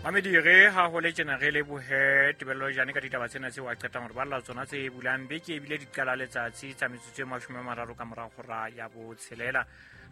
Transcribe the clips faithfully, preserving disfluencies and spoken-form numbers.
Mamedi re ha ho le tjena re lebohe Tebello Jane ka ditaba tsena tseo a qetang hore balla tsona tse bulang beke ebile di qala letsatsi tsa metsotso e mashome a mararo ka mora hora ya botshelela.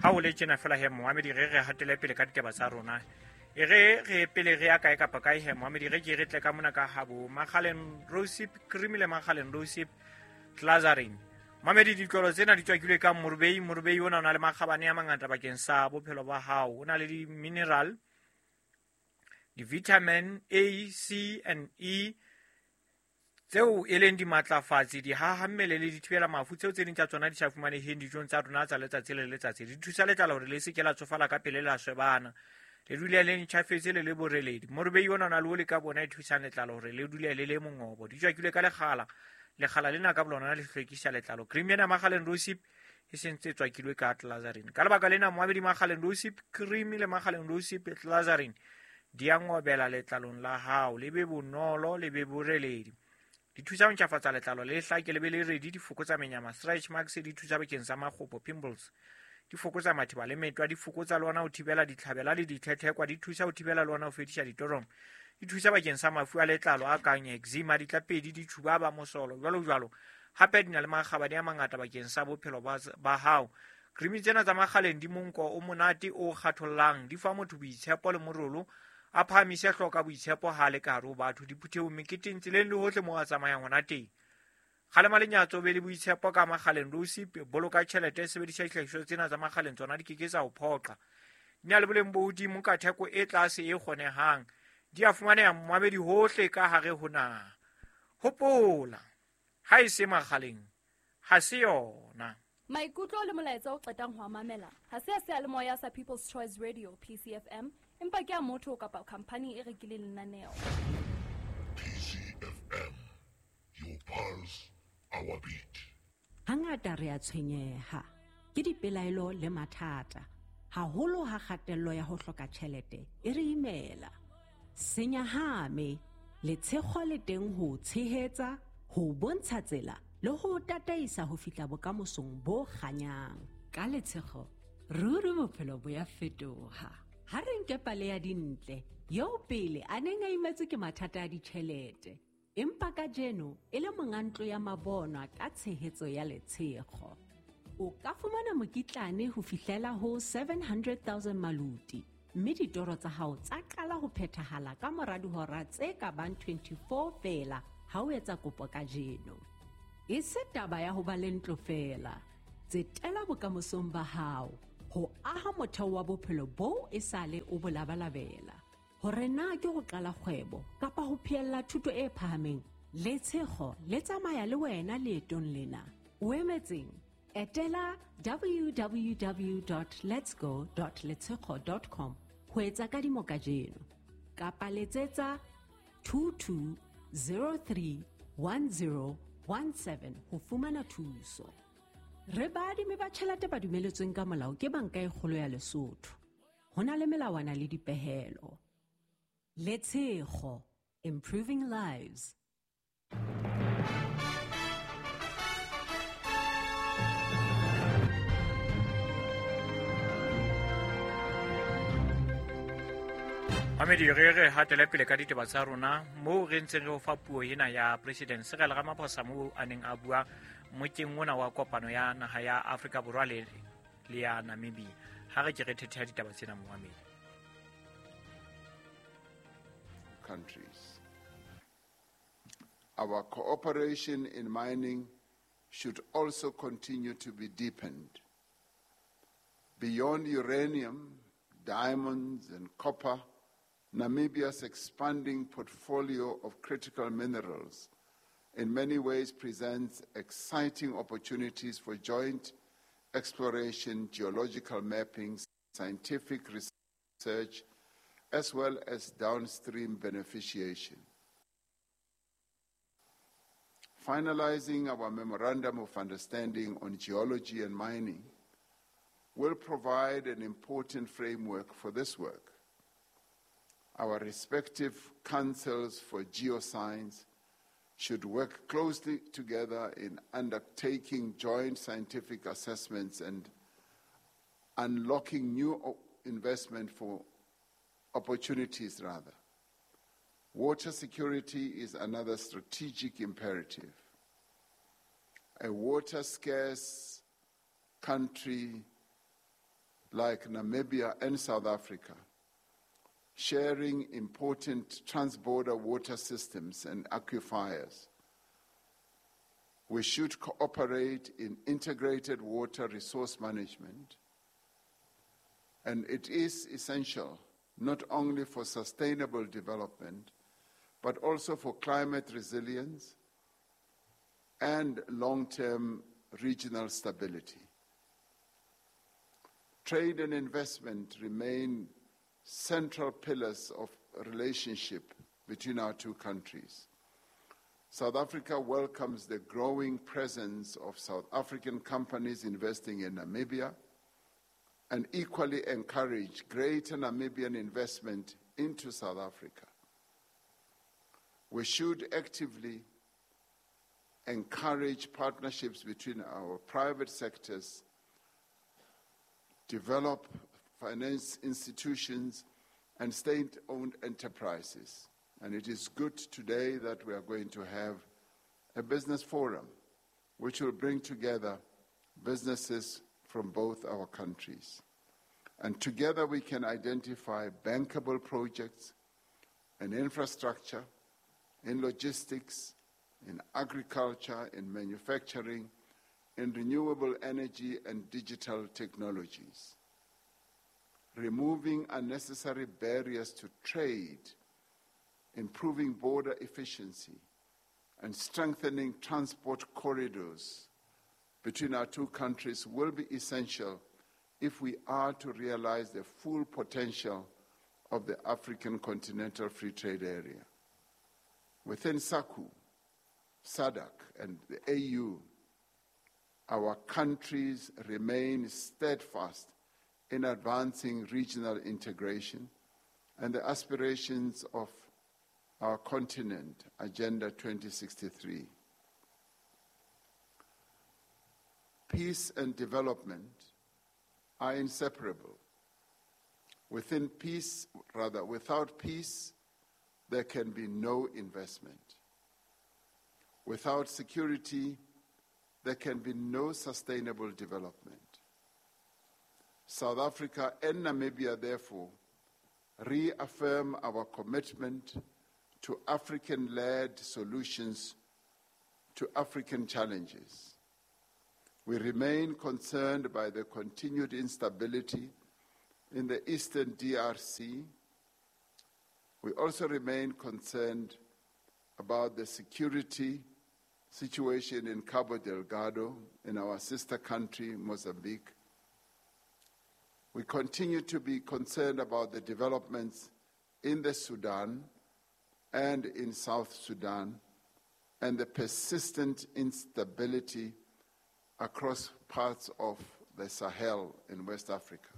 Ha ho le tjena fela he Mohamedi re re hatele pele ka ditaba tsa rona. E re re pele re ya kae kapa kae he Mohamedi re ke re tle ka mona ka habo Makgaleng Rosip Cream le Makgaleng Rosip Glazarin. Mamedi ditlolo tsena di tswakilwe ka morubei, morubei ona o na le makgabane a mangata bakeng sa bophelo ba hao. O na le di-mineral, di-vitamin A, C and E tseo e leng dimatlafatsi, dihaha mmele le dithibela mafu tseo tse ding tsa tsona di sa fumaneheng dijong tsa rona tsa letsatsi le letsatsi. Di thusa letlalo hore le se ke la tsofala ka pele la swebana, le dule le ntjhafetse le le boreledi. Morubei ona o na le oli ka bona e thusang letlalo hore le dule le le mongobo. Di tswakilwe ka lekgala, lekgala lena ka bolona le hlwekisa letlalo. Cream ena Makgaleng Rosip e sentse e tswakilwe ka Glazarin. Ka lebaka lena Mohamedi Makgaleng Rosip Cream le Makgaleng Rosip Glazarin di a ngobela letlalong la hao, le be bonolo le be boreledi. Di thusa ho ntjhafatsa letlalo le hlake le be le redi, di fokotsa menyama, stretch marks, di thusa bakeng sa makgopo, pimples, di fokotsa matheba le metwa, di fokotsa le ona ho thibela ditlhabela le ditlhetlhekwa, di thusa ho thibela le ona ho fedisa ditoromo, di thusa bakeng sa mafu a letlalo a kang eczema, ditlapedi, ditjhubaba, mosolo, jwalo jwalo. Hape di na le makgabane a mangata bakeng sa bophelo ba, ba hao. Cream tsena tsa Makgaleng di monko o monate o kgathollang, di fa motho boitshepo le morolo, a phahamise hloka boitshepo ha le ka hare ho batho, diphuthehong, meketeng, tseleng le hohle moo a tsamayang hona teng. Kgalema lenyatso, be le boitshepo ka Makgaleng Rosip, boloka tjhelete, sebedisa dihlahiswa tsena tsa Makgaleng, tsona di ke ke tsa o phoqa. Di na le boleng bo hodimo ka theko e tlase e kgonehang. Di a fumaneha Mohamedi hohle ka hare ho naha. Hopola, ha e se Makgaleng, ha se yona. Maikutlo le molaetsa o qetang ho a mamela ha se a seyalemoya sa People's Choice Radio P C F M, empa ke a motho kapa khampani e rekileng lenaneo. P C F M, your pulse, our beat. Hangata re a tshwenyeha ke dipelaelo le mathata, haholo ha kgatello ya ho hloka tjhelete e re imela. Senyahame, letshego le teng ho tshehetsa, ho bontsha tsela le ho tataisa ho fihla bokamosong bo kganyang. Ka letshego, ruri bophelo bo ya fetoha. Ha re nke pale ya Dintle, eo pele a neng a imetswe ke mathata a ditjhelete, empa kajeno e le monga ntlo ya mabonwa ka tshehetso ya letshego. O ka fumana mokitlane ho fihlela ho seven hundred thousand maluti, mme ditoro tsa hao tsa qala ho phethahala ka mora dihora tse ka bang twenty-four feela ha o etsa kopo kajeno. E se taba ya ho ba le ntlo feela, tsetela bokamosong ba hao ho aha motheo wa bophelo boo e sale o bo labalabela. Hore na ke ho qala kgwebo kapa ho phehella thuto e phahameng, letshego le tsamaya le wena leetong lena. O emetseng? Etela w w w dot letsgo dot letshego dot com ho etsa kadimo kajeno, kapa letsetsa two two zero three one zero one seven ho fumana thuso. Re baadimi ba tjhelete ba dumeletsweng ka molao ke Banka e Kgolo ya Lesotho. Ho na le melawana le dipehelo. Letshego, improving lives. Mamedi re re hatele pele ka ditaba tsa rona moo re ntseng re o fa puo ena ya President Cyril Ramaphosa moo a neng a bua mokeng ona wa kopano ya naha ya Afrika Borwa le le ya Namibia. Ha re ke re thetheha ditaba tsena Mohamedi. Countries. Our cooperation in mining should also continue to be deepened. Beyond uranium, diamonds and copper, Namibia's expanding portfolio of critical minerals in many ways presents exciting opportunities for joint exploration, geological mapping, scientific research, as well as downstream beneficiation. Finalizing our Memorandum of Understanding on Geology and Mining will provide an important framework for this work. Our respective councils for geoscience should work closely together in undertaking joint scientific assessments and unlocking new investment for opportunities rather. Water security is another strategic imperative. A water-scarce country like Namibia and South Africa, sharing important transborder water systems and aquifers, we should cooperate in integrated water resource management, and it is essential not only for sustainable development, but also for climate resilience and long-term regional stability. Trade and investment remain central pillars of relationship between our two countries. South Africa welcomes the growing presence of South African companies investing in Namibia and equally encourage greater Namibian investment into South Africa. We should actively encourage partnerships between our private sectors, develop finance institutions and state-owned enterprises. And it is good today that we are going to have a business forum which will bring together businesses from both our countries. And together we can identify bankable projects in infrastructure, in logistics, in agriculture, in manufacturing, in renewable energy and digital technologies. Removing unnecessary barriers to trade, improving border efficiency, and strengthening transport corridors between our two countries will be essential if we are to realize the full potential of the African Continental Free Trade Area. Within SACU, SADC, and the A U, our countries remain steadfast in advancing regional integration and the aspirations of our continent, Agenda twenty sixty-three. Peace and development are inseparable. Within peace, rather, without peace, there can be no investment. Without security, there can be no sustainable development. South Africa and Namibia, therefore, reaffirm our commitment to African-led solutions to African challenges. We remain concerned by the continued instability in the eastern D R C. We also remain concerned about the security situation in Cabo Delgado, in our sister country, Mozambique. We continue to be concerned about the developments in the Sudan and in South Sudan and the persistent instability across parts of the Sahel in West Africa.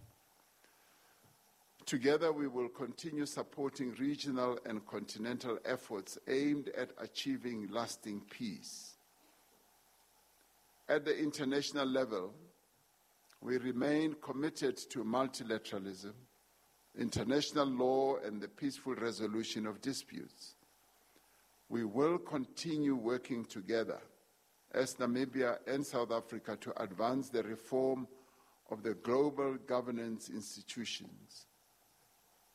Together, we will continue supporting regional and continental efforts aimed at achieving lasting peace. At the international level, we remain committed to multilateralism, international law, and the peaceful resolution of disputes. We will continue working together as Namibia and South Africa to advance the reform of the global governance institutions,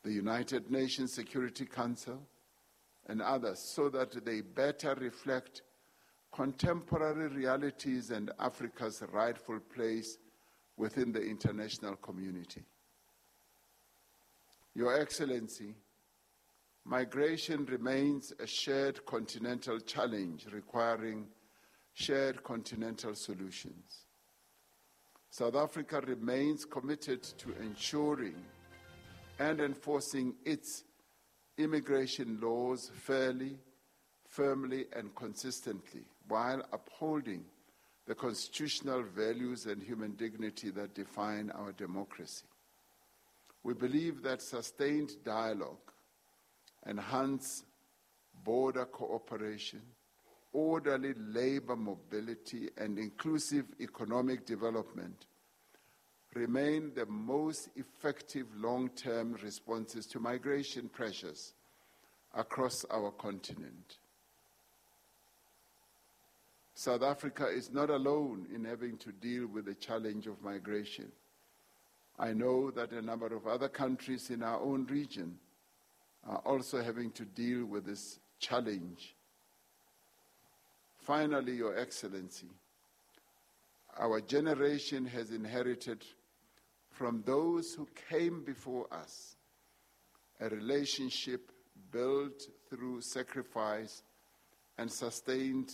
the United Nations Security Council, and others, so that they better reflect contemporary realities and Africa's rightful place within the international community. Your Excellency, migration remains a shared continental challenge requiring shared continental solutions. South Africa remains committed to ensuring and enforcing its immigration laws fairly, firmly, and consistently, while upholding the constitutional values and human dignity that define our democracy. We believe that sustained dialogue, enhanced border cooperation, orderly labor mobility, and inclusive economic development remain the most effective long-term responses to migration pressures across our continent. South Africa is not alone in having to deal with the challenge of migration. I know that a number of other countries in our own region are also having to deal with this challenge. Finally, Your Excellency, our generation has inherited from those who came before us a relationship built through sacrifice and sustained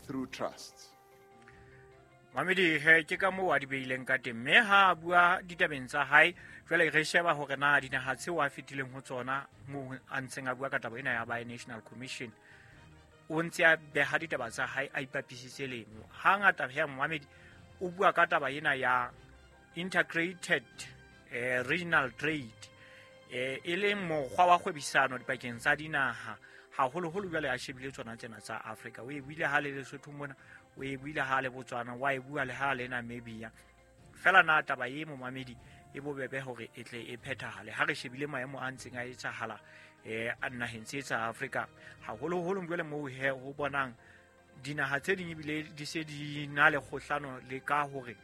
through trust. Mamedi he ke ka moo a di beileng ka teng, mme ha a bua ditabeng tsa hae jwale re sheba hore na dinaha tseo a fetileng ho tsona moo a ntseng a bua ka taba ena ya Bi-National Commission, o ntse a beha ditaba tsa hae a ipapisitse lemo. Hangata he Mamedi o bua ka taba ena ya integrated eh, regional trade, eh, e leng mokgwa wa kgwebisano dipakeng tsa dinaha, haholoholo jwale a shebile tsona tsena tsa Afrika. O e buile ha le Lesotho mona, o e buile ha le Botswana, wa e bua le ha le Namibia. Fela na taba e momamedi e bobebe hore e tle e phethahale ha re shebile maemo a ntseng a etsahala eh a naheng tse tsa Afrika, haholoholo jwale moo he ho bonang dinaha tse ding ebile di se di na le kgohlano le ka hore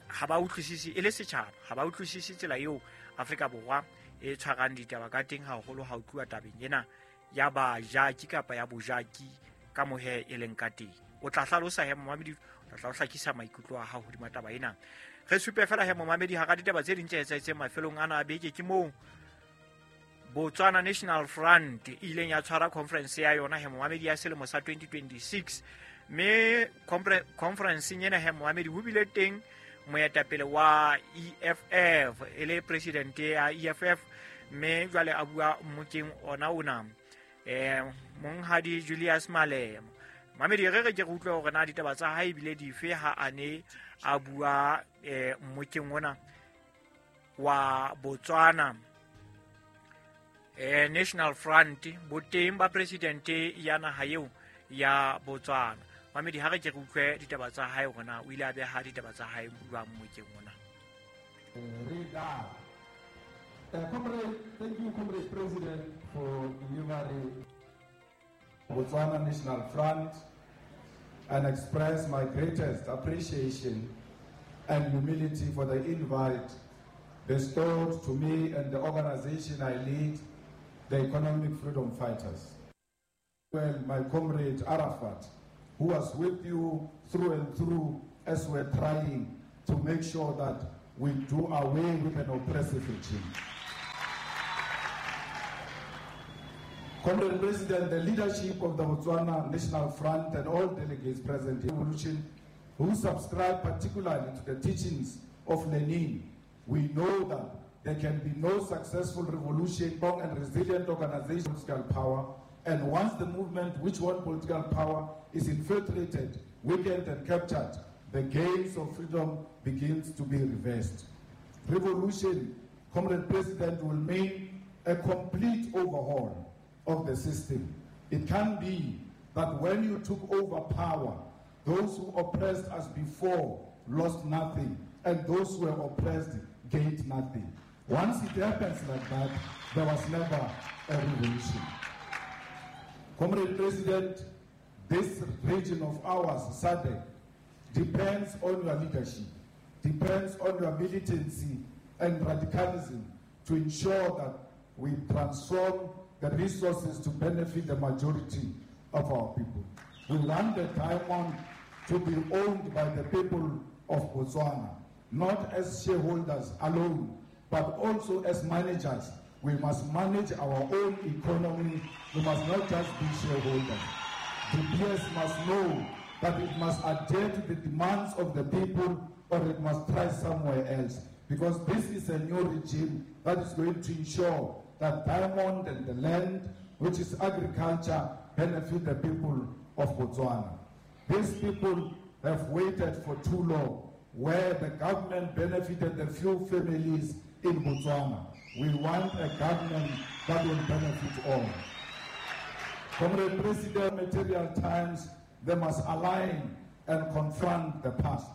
ha ba utlwisise e le setjhaba, ha ba utlwisise tsela eo Afrika Borwa e tshwarang ditaba ka teng, haholo ha o tluwa tabeng ena ya bajaki kapa ya bojaki ka mohe e leng ka teng. O tla hlalosa he momamedi, o tla hlakisa maikutlo a hao hodima taba ena. Re supe fela he momamedi hara ditaba tse ding tse etsahetseng mafelong ana a beke ke moo Botswana National Front e ileng ya tshwara conference ya yona he momamedi ya selemo sa twenty twenty-six, mme conference ena he momamedi ho bile teng moetapele wa E F F e le president ya E F F, mme jwale a bua mmokeng ona ona eh monghadi Julius Malema. Mamedi re re ke re utlwe hore na ditaba tsa hae ebile dife ha a ne a bua eh mmokeng ona wa Botswana eh National Front, boteng ba president ya naha eo ya Botswana. Mamedi ha re ke re utlwe ditaba tsa hae hore na o ile a beha ditaba tsa hae jwang mmokeng ona. Uh, comrade, thank you, Comrade President, for delivering Botswana National Front, and express my greatest appreciation and humility for the invite bestowed to me and the organization I lead, the Economic Freedom Fighters. Well, my comrade Arafat, who was with you through and through as we're trying to make sure that we do away with an oppressive regime. Comrade President, the leadership of the Botswana National Front and all delegates present here, revolution, who subscribe particularly to the teachings of Lenin, we know that there can be no successful revolution, strong and resilient organization, political power, and once the movement which won political power is infiltrated, weakened and captured, the gains of freedom begins to be reversed. Revolution, Comrade President, will mean a complete overhaul of the system. It can be that when you took over power, those who oppressed us before lost nothing, and those who were oppressed gained nothing. Once it happens like that, there was never a revolution. Comrade President, this region of ours, S A D C, depends on your leadership, depends on your militancy and radicalism to ensure that we transform the resources to benefit the majority of our people. We want the diamond to be owned by the people of Botswana, not as shareholders alone, but also as managers. We must manage our own economy. We must not just be shareholders. The P S must know that it must adhere to the demands of the people, or it must try somewhere else. Because this is a new regime that is going to ensure that diamond and the land, which is agriculture, benefit the people of Botswana. These people have waited for too long, where the government benefited the few families in Botswana. We want a government that will benefit all. Comrade President, material times, they must align and confront the past.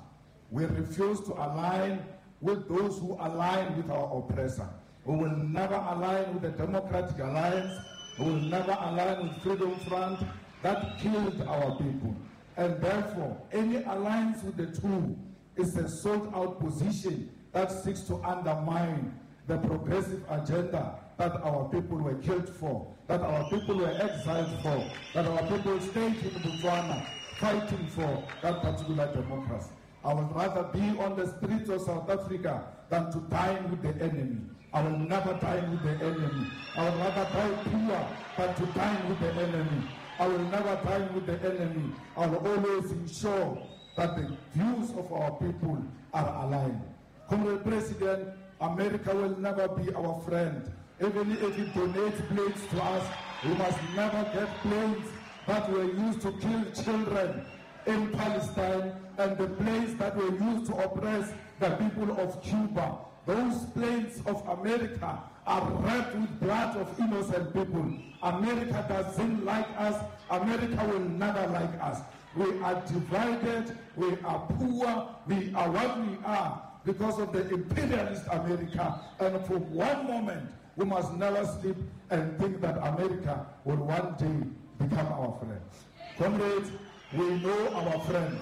We refuse to align with those who align with our oppressor. We will never align with the Democratic Alliance. We will never align with Freedom Front that killed our people. And therefore, any alliance with the two is a sold-out position that seeks to undermine the progressive agenda that our people were killed for, that our people were exiled for, that our people stayed in Botswana fighting for that particular democracy. I would rather be on the streets of South Africa than to dine with the enemy. I will never dine with the enemy. I would rather die poor than to dine with the enemy. I will never dine with the enemy. I will always ensure that the views of our people are aligned. Comrade President, America will never be our friend. Even if it donates planes to us, we must never get planes that were used to kill children in Palestine and the planes that were used to oppress the people of Cuba. Those planes of America are wrapped with blood of innocent people. America doesn't like us. America will never like us. We are divided. We are poor. We are what we are because of the imperialist America. And for one moment, we must never sleep and think that America will one day become our friends. Comrades, we know our friends.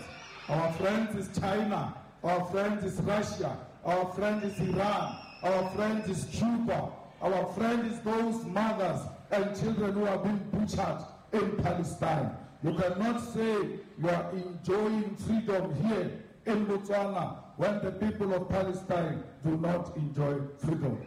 Our friends is China. Our friend is Russia. Our friend is Iran. Our friend is Cuba. Our friend is those mothers and children who are being butchered in Palestine. You cannot say you are enjoying freedom here in Botswana when the people of Palestine do not enjoy freedom.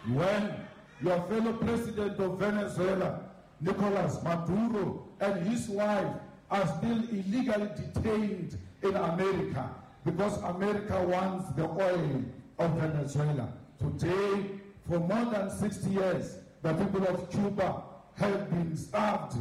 When your fellow president of Venezuela, Nicolas Maduro, and his wife are still illegally detained in America because America wants the oil of Venezuela. Today, for more than sixty years, the people of Cuba have been starved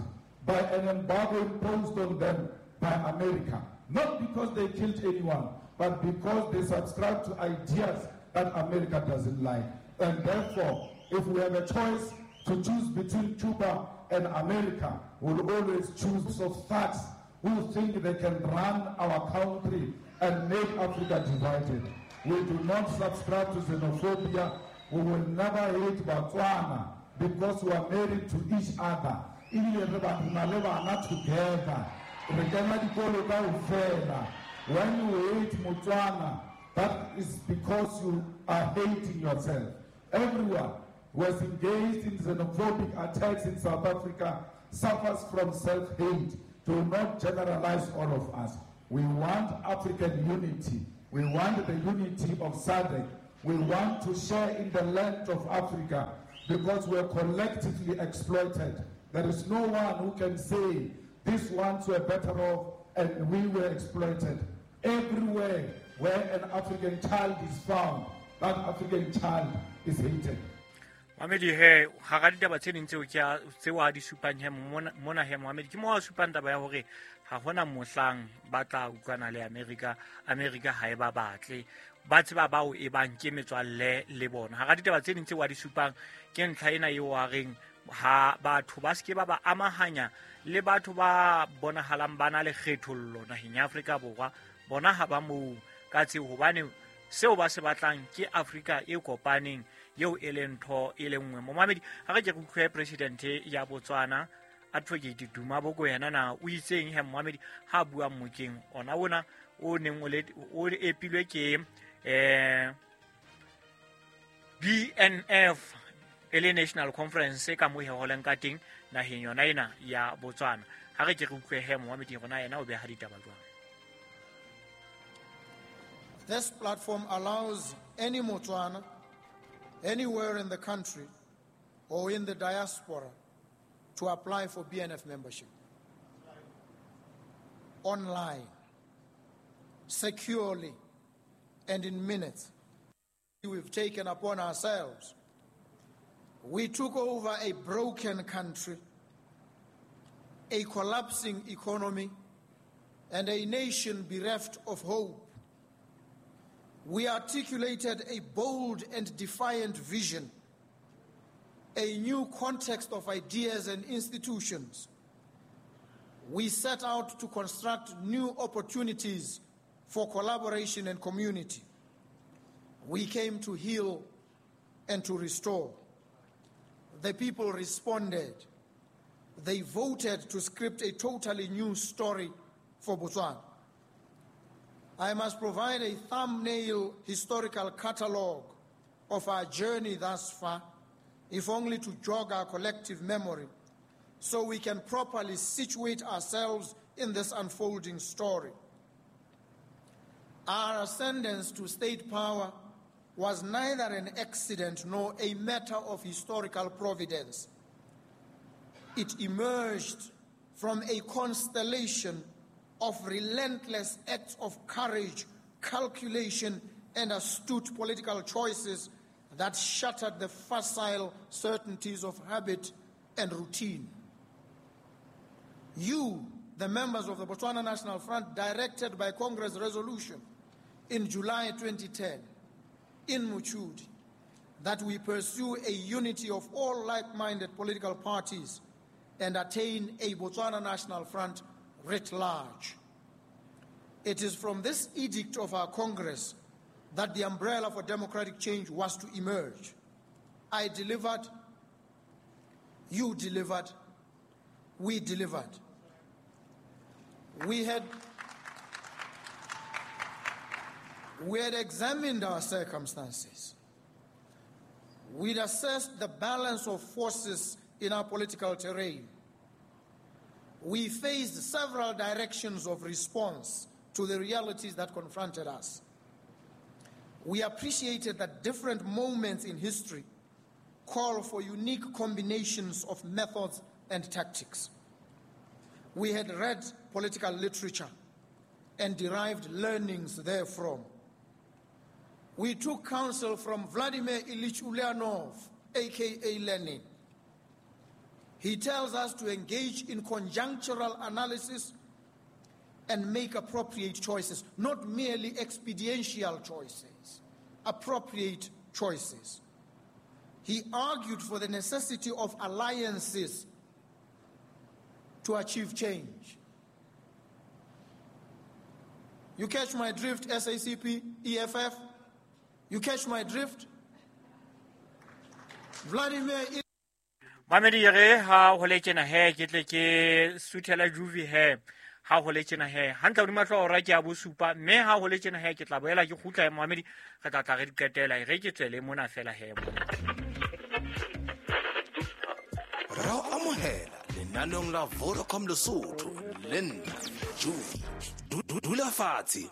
by an embargo imposed on them by America. Not because they killed anyone, but because they subscribe to ideas that America doesn't like. And therefore, if we have a choice to choose between Cuba and America, we'll always choose of thugs who think they can run our country and make Africa divided. We do not subscribe to xenophobia. We will never hate Botswana because we are married to each other. Together. When you hate Botswana, that is because you are hating yourself. Everyone who has engaged in xenophobic attacks in South Africa suffers from self-hate. Do not generalize all of us. We want African unity. We want the unity of S A D C. We want to share in the land of Africa because we are collectively exploited. There is no one who can say these ones were better off and we were exploited. Everywhere where an African child is found, that African child is hated. Mohamedi he hara ditaba tse ding tseo ke a tseo a di supang he mona he Mohamedi ke mo a supang taba ya hore ha hona mohlang ba tla utlwana le America. America ha e ba batle ba tseba bao e bang ke metswalle le bona. Hara ditaba tse ding tseo a di supang ke ntlha ena eo a reng ha batho ba seke ba ba amahanya le batho ba bonahalang ba na le kgethollo naheng ya Afrika Borwa. Bona ha ba moo ka tseo hobane seo ba se batlang ke Afrika e kopaneng eo e leng ntho e le nngwe. Mohamedi ha re ke re utlwe president ya Botswana Advocate Duma Boko yena na o itseng he Mohamedi ha bua mmokeng ona ona o neng o le o epilwe ke eh B N F e le National Conference ka mo he holeng ka teng naheng yona ena ya Botswana. Ha re ke re utlwe he Mohamedi rona yena o beha ditaba jwang. This platform allows any Motswana anywhere in the country or in the diaspora to apply for B N F membership online, securely, and in minutes. We've taken upon ourselves. We took over a broken country, a collapsing economy, and a nation bereft of hope. We articulated a bold and defiant vision, a new context of ideas and institutions. We set out to construct new opportunities for collaboration and community. We came to heal and to restore. The people responded. They voted to script a totally new story for Botswana. I must provide a thumbnail historical catalogue of our journey thus far, if only to jog our collective memory, so we can properly situate ourselves in this unfolding story. Our ascendance to state power was neither an accident nor a matter of historical providence. It emerged from a constellation of relentless acts of courage, calculation, and astute political choices that shattered the facile certainties of habit and routine. You, the members of the Botswana National Front, directed by Congress resolution in July twenty ten, in Mochudi, that we pursue a unity of all like-minded political parties and attain a Botswana National Front writ large. It is from this edict of our Congress that the umbrella for democratic change was to emerge. I delivered, you delivered, we delivered. We had, we had examined our circumstances. We'd assessed the balance of forces in our political terrain. We faced several directions of response to the realities that confronted us. We appreciated that different moments in history call for unique combinations of methods and tactics. We had read political literature and derived learnings therefrom. We took counsel from Vladimir Ilyich Ulyanov, A K A Lenin. He tells us to engage in conjunctural analysis and make appropriate choices, not merely expediential choices, appropriate choices. He argued for the necessity of alliances to achieve change. You catch my drift, S A C P, E F F? You catch my drift? Vladimir... Mamedi re ha ho le tjena he ke tle ke suthela juvi he ha ho le tjena he hantle hodima hlooho hora ke ya bosupa mme ha ho le tjena he ke tla boela ke kgutla Mamedi re tla tla re di qetela re ke tswele mona fela he. Ra o amohela lenaneong la Vodacom Lesotho le nna Juvi. Dula fatshe